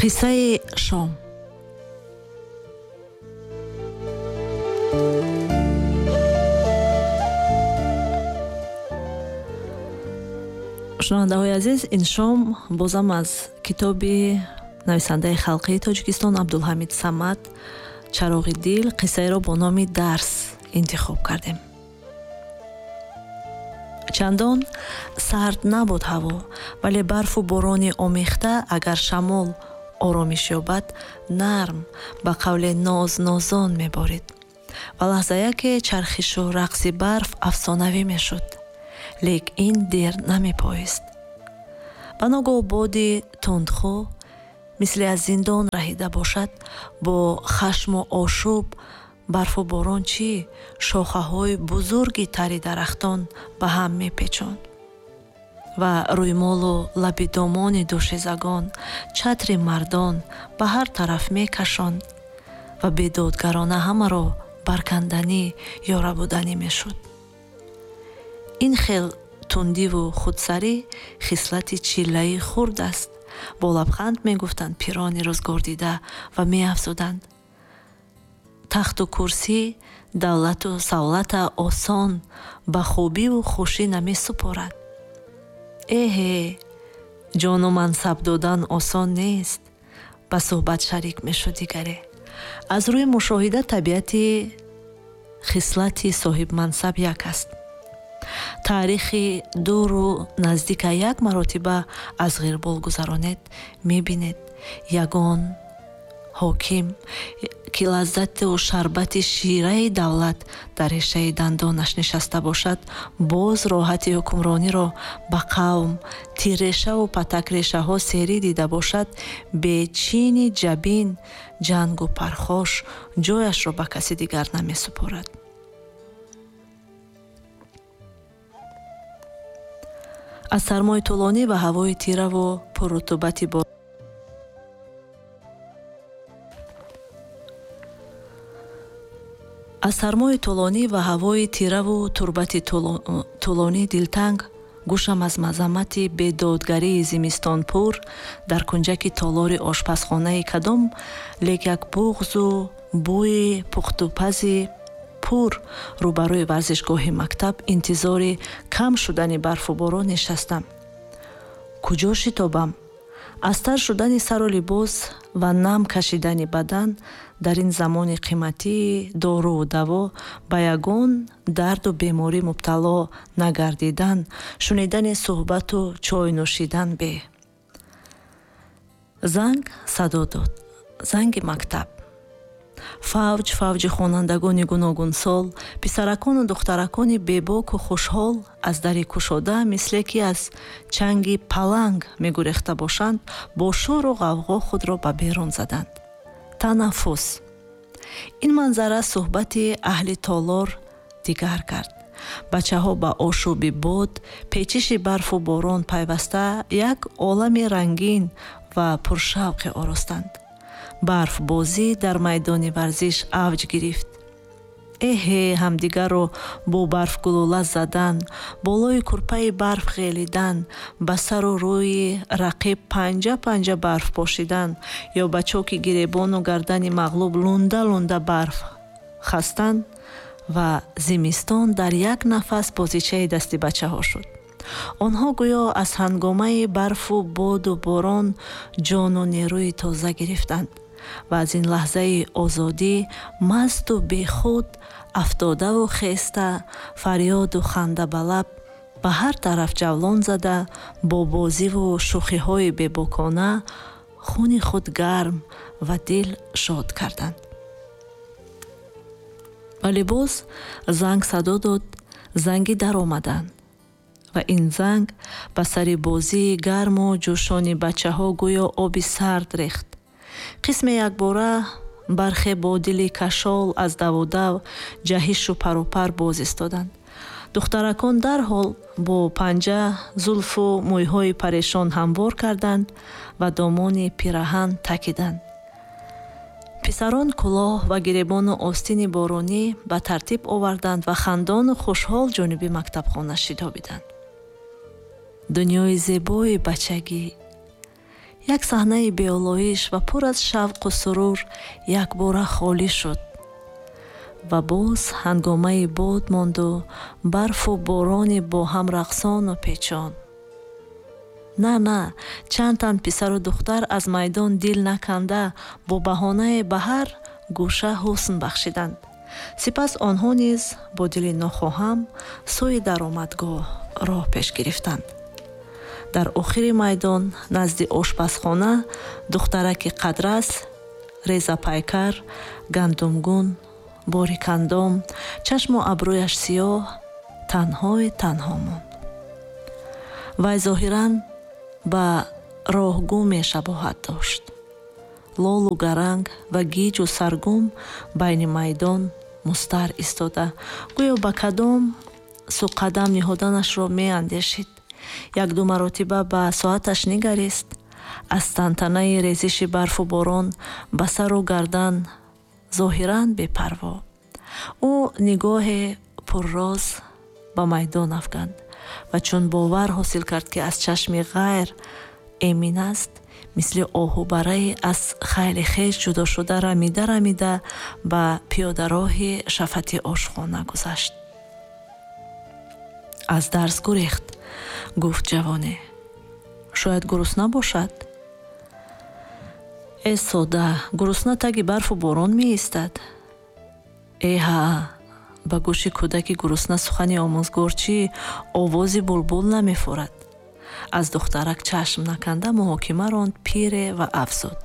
Қиссаи шом. Шунавандаҳои азиз, ин шом бозам аз китоби нависандаи халқии Тоҷикистон Абдулҳамид Самад «Чароғи дил» қиссаеро бо номи «Дарс» интихоб кардем. Чандон сард набуд ҳаво, вале барфу борони омехта, агар шамол оромиш ёбад, нарм, ба қавле ноз-нозон меборид ва лаҳзаяке чархишу рақси барф афсонавӣ мешуд. Лек ин дер намепоист. Ба ногоҳ боди тундхӯ, мисли аз зиндон раҳида бошад, бо хашму ошӯб барфу борон чӣ, шохаҳои бузурги тари дарахтон ба ҳам мепечонд ва рӯймолу лаби домони дӯшизагон, чатри мардон ба ҳар тараф мекашонд ва бедодгарона ҳамаро барканданӣ ё рабуданӣ мешуд. Ин хел тундиву худсарӣ хислати чиллаи хурд аст, бо лабханд мегуфтанд пирони рӯзгордида ва меафзуданд: тахту курсӣ, давлату савлата осон ба хубиву хушӣ намесупорад. Эҳе, ҷону мансаб додан осон нест, ба суҳбат шарик мешуд дигаре. Аз рӯи мушоҳида табиати хислати соҳибмансаб як аст. Таърихи дуру наздика як маротиба аз ғирбол гузаронед, мебинед ягон ҳоким, ки лаззату шарбати шираи давлат дар решаи дандонаш нишаста бошад, боз роҳати ҳукмрониро ба қавм тиррешаву патакрешаҳо серӣ дида бошад, бечини ҷабин, ҷангу пархош ҷояшро ба каси дигар намесупорад. Аз сармои тӯлонӣ ва ҳавои тираву пуррутубати аз сармои тӯлонӣ ва ҳавои тираву турбати тӯлонӣ дилтанг, гӯшам аз мазаммати бедодгарии зимистонпур дар кунҷаки толори ошпазхонаи кадом лек як буғзу бӯи пухтупази пур рӯбарӯи варзишгоҳи мактаб интизори кам шудани барфу борон нишастам. Куҷо шитобам? Аз тар шудани сару либос ва нам кашидани бадан дар ин замони қиматии доруву даво ба ягон дарду беморӣ мубтало нагардидан, шунидани суҳбату чой нӯшидан беҳ. Занг садо дод. Занги мактаб. Фавҷ фавҷи хонандагони гуногунсол, писаракону духтаракони бебоку хушҳол аз дари кушода, мисле ки аз чанги паланг мегурехта бошанд, бо шӯру ғавғо худро ба берун заданд. Танаффус. Ин манзара суҳбати аҳли толор дигар кард. Бачаҳо ба ошӯби бод, печиши барфу борон пайваста як олами рангин ва пуршавқе оростанд. Барфбозӣ дар майдони варзиш авҷ гирифт. Эҳе, ҳамдигарро бо барфгулула задан, болои курпаи барф ғелидан, ба сару рӯи рақиб панҷа-панҷа барф пошидан ё ба чоки гиребону гардани мағлуб лунда-лунда барф хастан ва зимистон дар як нафас бозичаи дасти бачаҳо шуд. Онҳо гӯё аз ҳангомаи барфу боду борон ҷону нерӯи тоза гирифтанд ва аз ин лаҳзаи озодӣ масту бехуд, афтодаву хеста, фарёду ханда ба лаб, ба ҳар тараф ҷавлон зада, бо бозиву шӯхиҳои бебокона хуни худ гарм ва дил шод карданд. Вале боз занг садо дод, занги даромаданд. Ва ин занг ба сари бозии гарму ҷӯшони бачаҳо гӯё оби сард рехт. Қисме якбора, бархе бо дили кашол аз давудав, ҷаҳишу парупар боз истоданд. Духтаракон дарҳол бо панҷа зулфу мӯйҳои парешон ҳамвор карданд ва домони пираҳан такиданд. Писарон кулоҳ ва гиребону остини боронӣ ба тартиб оварданд ва хандону хушҳол ҷониби мактабхона шитобиданд. Дунёи зебои бачагӣ. Як саҳнаи беолоиш ва пур аз шавқу сурур якбора холӣ шуд ва боз ҳангомаи бод монду барфу борони бо ҳам рақсону печон. На, на, чанд тан писару духтар аз майдон дил наканда бо баҳонае ба ҳар гӯша ҳусн бахшиданд. Сипас онҳо низ бо дили нохоҳам сӯи даромадгоҳ роҳ пеш гирифтанд. Дар охири майдон назди ошпазхона духтараки қадрас, резапайкар, гандумгун, борикандом, чашму абрӯяш сиёҳ, танҳои танҳо монд. Вай зоҳиран ба роҳгуме шабоҳат дошт. Лолу гаранг ва гиҷу саргум байни майдон мустар истода, гӯё ба кадом сӯ қадам ниҳоданашро меандешид. Якду маротиба ба соаташ нигарист. Аз тантанаи резиши барфу борон ба сару гардан зоҳиран бепарво. Ӯ нигоҳе пурроз ба майдон афканд ва чун бовар ҳосил кард, ки аз чашми ғайр эмин аст, мисли оҳубарае аз хайли хеш ҷудо шуда рамида рамида ба пиёдароҳи шафати ошхона гузашт. Аз дарс гурехт, гуфт ҷавоне. Шояд гурусна бошад? Э сода, гурусна таги барфу борон меистад. Э ҳа, ба гӯши кӯдаки гурусна сухани омӯзгор чӣ овози булбул намефорад. Аз духтарак чашм наканда муҳокима ронд пире ва афзуд: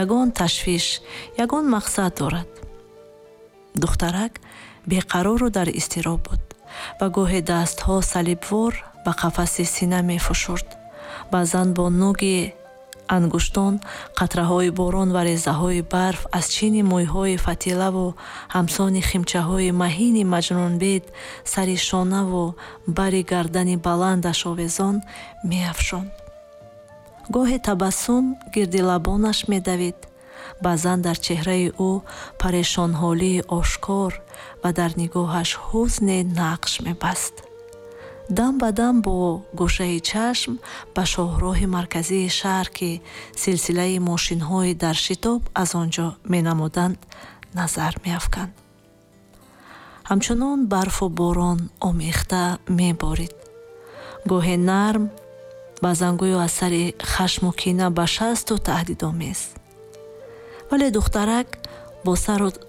ягон ташвиш, ягон мақсад дорад. Духтарак беқарору дар изтироб буд ва гоҳе дастҳо салибвор ба қафаси сина мефушурд. Баъзан бо нуги ангуштон қатраҳои борон ва резаҳои барф аз чини мӯйҳои фатилаву ҳамсони химчаҳои маҳини маҷнунбед сари шонаву бари гардани баландаш овезон меафшонд. Гоҳе табассум гирди лабонаш медавид. Баъзан дар чеҳраи ӯ парешонҳолии ошкор ва дар нигоҳаш ҳузне нақш мебаст. Дам ба дам бо гӯшаи чашм ба шоҳроҳи марказии шаҳр, ки силсилаи мошинҳои дар шитоб аз он ҷо менамуданд, назар меафканд. Ҳамчунон барфу борон омехта меборид. Гоҳе нарм, баъзан гӯё аз сари хашму кина ба шасту таҳдидомез. Вале духтарак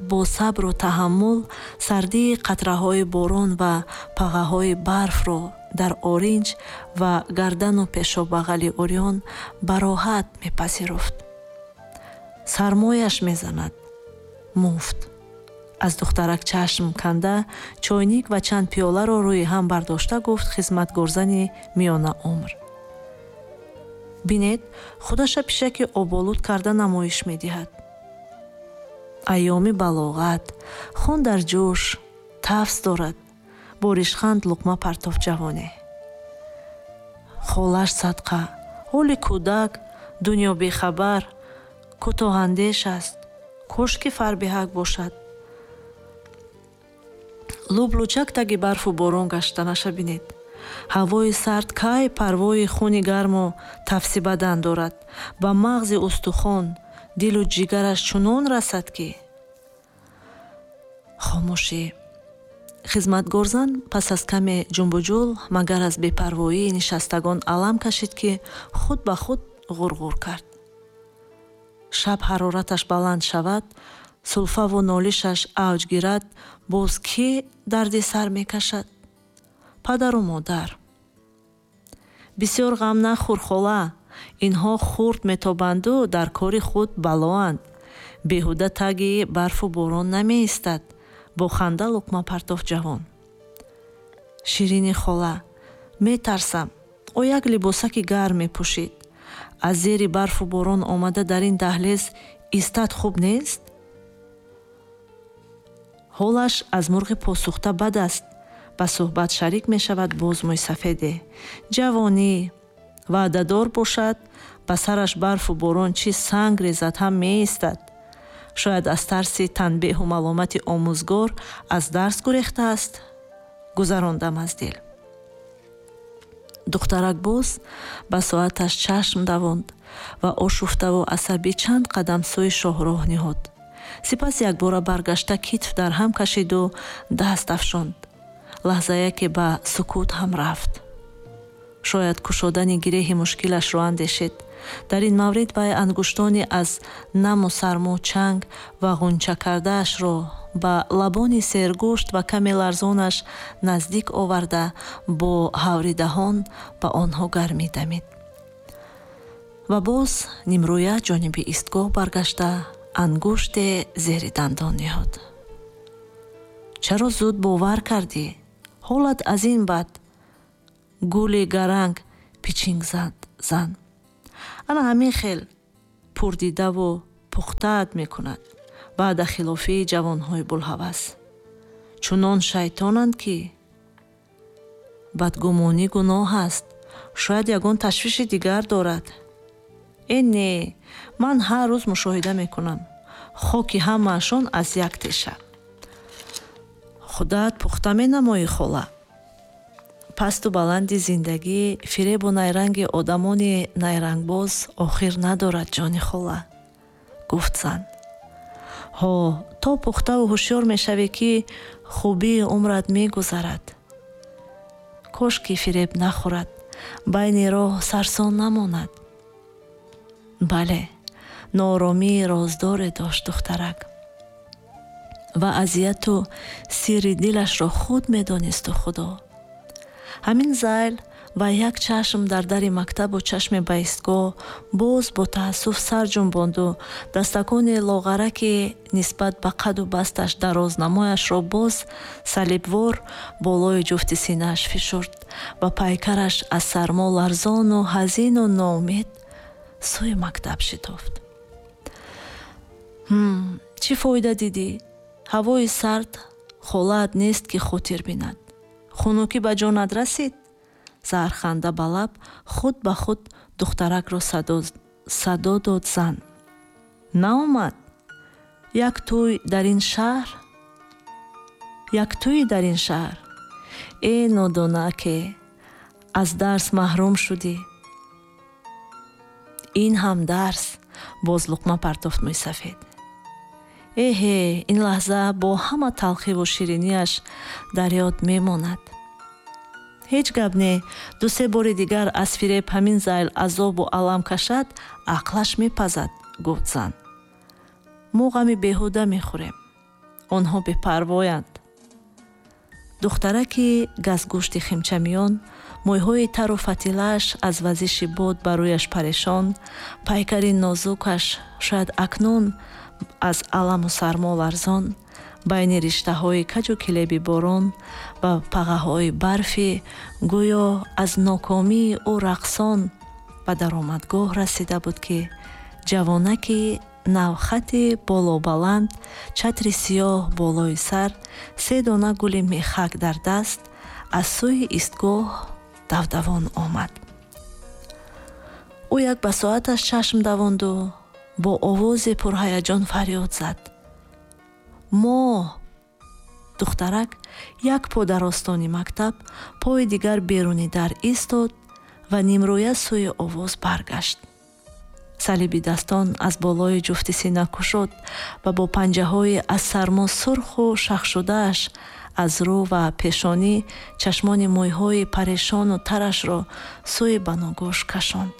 бо сабру таҳаммул сардии қатраҳои борон ва пағаҳои барфро дар оринҷ ва гардану пешобағали урён ба роҳат мепазируфт. Сармояш мезанад. Муфт. Аз духтарак чашм канда чойник ва чанд пиёларо рӯи ҳам бардошта гуфт хизматгорзани миёнаумр: бинед, худаша пишаки оболуд карда намоиш медиҳад. Айёми балоғат, хун дар ҷӯш, тафс дорад. Бо ришханд луқма партоф ҷавоне. Холаш садқа, ҳоли кӯдак, дунё бехабар, кӯтоҳандеш аст. Кошки фарбеҳак бошад. Лублучак таги барфу борон гаштанаша бинед. Ҳавои сард кай парвои хуни гарму тафси бадан дорад. Ба мағзи устухон, дилу ҷигараш чунон расад, ки хомӯшӣ. Хизматгорзан пас аз каме ҷумбуҷул магар аз бепарвоии нишастагон алам кашид, ки худ ба худ ғурғур кард. Шаб ҳарораташ баланд шавад, сулфаву нолишаш авҷ гирад, боз кӣ дарди сар мекашад? Падару модар. Бисёр ғам нахӯр, хола. Инҳо хурд метобанду дар кори худ балоанд. Беҳуда таги барфу борон намеистад. Бо ханда луқма партоф ҷавон. Ширини хола, метарсам. О як либосаки гарм мепӯшид. Аз зери барфу борон омада дар ин даҳлез истад хуб нест? Ҳолаш аз мурғи посухта бад аст. Ба суҳбат шарик мешавад боз мӯйсафеде. Ҷавонӣ ваъдадор бошад, ба сараш барфу борон чӣ санг резад ҳам меистад. Шояд аз тарси танбеҳу маломати омӯзгор аз дарс гурехтааст. Гузарондам аз дил. Духтарак боз ба соаташ чашм давонд. Ва ошуфтаву асабӣ чанд қадам сӯи шоҳроҳ ниҳод. Сипас якбора баргашта, китф дар ҳам кашиду даст афшонд. Лаҳзае ки ба сукут ҳам рафт. Шояд кушодани гиреҳи мушкилашро андешид. Дар ин маврид вай ангуштони аз наму сармо чанг ва ғунча кардаашро ба лабони сергӯшт ва каме ларзонаш наздик оварда, бо ҳаври даҳон ба онҳо гармӣ дамид. Ва боз нимрӯя ҷониби истгоҳ баргашта, ангуште зери дандон ниҳод. Чаро зуд бовар кардӣ? Ҳолат аз ин бад. Гули гаранг, пичинг зад зан. Ана ҳамин хел пурдидаву пухтаат мекунад. Баъда хилофии ҷавонҳои булҳавас. Чунон шайтонанд, ки бадгумонӣ гуноҳ аст. Шояд ягон ташвиши дигар дорад. Э не, ман ҳар рӯз мушоҳида мекунам. Хоки ҳамаашон аз як теша. Худат пухта менамоӣ, хола. Пасту баланди зиндагӣ, фиребу найранги одамони найрангбоз охир надорад, ҷони хола, гуфт зан. Ҳо, то пухтаву ҳушёр мешавӣ, ки хубии умрат мегузарад. Кош ки фиреб нахӯрад, байни роҳ сарсон намонад. Бале, нооромии роздоре дошт духтарак. Ва азияту сирри дилашро худ медонисту Худо. Ҳамин зайл ва як чашм дар дари мактабу чашме ба истгоҳ боз бо таассуф сар ҷунбонду дастакони лоғараки нисбат ба қаду басташ дарознамояшро боз салибвор болои ҷуфти синааш фишурд ва пайкараш аз сармо ларзону ҳазину ноумед сӯи мактаб шитофт. Чӣ фоида дидӣ? Ҳавои сард холаат нест, ки хотир бинад. Хунукӣ ба ҷонат расид? Заҳрханда ба лаб худ ба худ духтаракро садо дод зан. Наомад? Як тӯй дар ин шаҳр? Як тӯй дар ин шаҳр? Э нодонаке, аз дарс маҳрум шудӣ. Ин ҳам дарс, боз луқма партофт мӯйсафед. Эҳе, ин лаҳза бо ҳама талхиву ширинияш дар ёд мемонад. Ҳеҷ гап не, ду-се бори дигар аз фиреб ҳамин зайл азобу алам кашад, ақлаш мепазад, гуфт зан. Мо ғами беҳуда мехӯрем. Онҳо бепарвоянд. Духтараки газгӯшти химчамиён, мӯйҳои тару фатилааш аз вазиши бод ба рӯяш парешон, пайкари нозукаш шояд акнун аз аламу сармо ларзон, байни риштаҳои каҷу килеби борон ва пағаҳои барфӣ гӯё аз нокомии ӯ рақсон ба даромадгоҳ расида буд, ки ҷавонаки навхати болобаланд, чатри сиёҳ болои сар, се дона гули мехак дар даст аз сӯи истгоҳ давдавон омад. Ӯ як ба соаташ чашм давонду бо овози пурҳаяҷон фарёд зад. Мо! Духтарак як по дар остони мактаб, пои дигар беруни дар истод ва нимрӯя сӯи овоз баргашт. Салиби дастон аз болои ҷуфти сина кушод ва бо панҷаҳои аз сармо сурху шахшудааш аз рӯ ва пешонӣ чашмони мӯйҳои парешону тарашро сӯи баногӯш кашонд.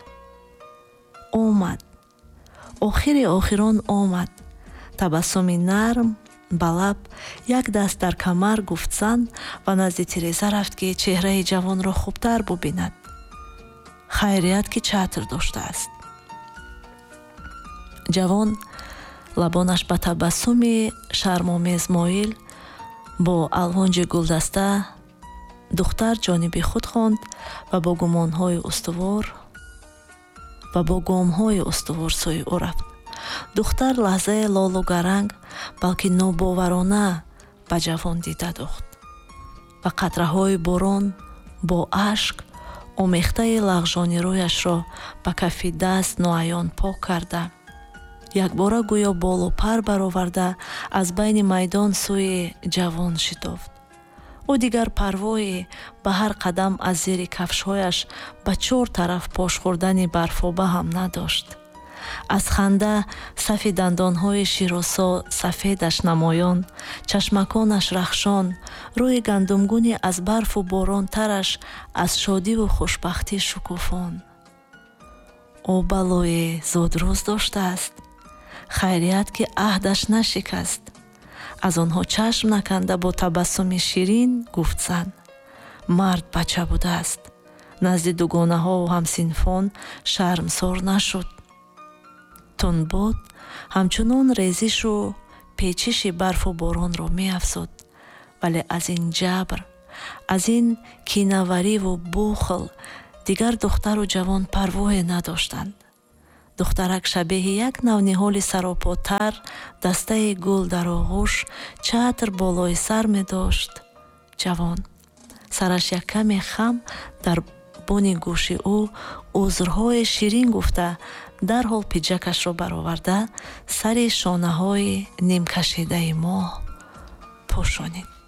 Омад. Охири охирон омад. Табассуми нарм ба лаб, як даст дар камар, гуфт зан ва назди тиреза рафт, ки чеҳраи ҷавонро хубтар бубинад. Хайрият, ки чатр доштааст. Ҷавон лабонаш ба табассуми шармомез моил бо алвонҷи гулдаста духтар ҷониби худ хонд ва бо гумонҳои устувор ва бо гомҳои устувор сӯи ӯ рафт. Духтар лаҳзае лолу гаранг, балки нобоварона ба ҷавон дида дохт ва қатраҳои борон бо ашк омехтаи лағжони рӯяшро ба кафи даст ноаён пок карда, якбора гӯё болу пар бароварда аз байни майдон сӯи ҷавон шитофт. Ӯ дигар парвое ба ҳар қадам аз зери кафшҳояш ба чор тараф пош хӯрдани барфоба ҳам надошт. Аз ханда сафи дандонҳои широсо сафедаш намоён, чашмаконаш рахшон, рӯи гандумгуни аз барфу борон тараш аз шодиву хушбахтӣ шукуфон. Ӯ балое зудрӯз доштааст. Хайрият, ки аҳдаш нашикаст. Аз онҳо чашм наканда, бо табассуми ширин гуфт зан: мард бача будааст. Назди дугонаҳову ҳамсинфон шармсор нашуд. Тунбод ҳамчунон резишу печиши барфу боронро меафзуд, вале аз ин ҷабр, аз ин кинавариву бухл дигар духтару ҷавон парвое надоштанд. Духтарак шабеҳи як навниҳоли саропотар, дастаи гул дар оғӯш, чатр болои сар медошт. Ҷавон сараш як каме хам дар буни гӯши ӯ узрҳои ширин гуфта, дарҳол пиҷакашро бароварда, сари шонаҳои нимкашидаи моҳ пӯшонид.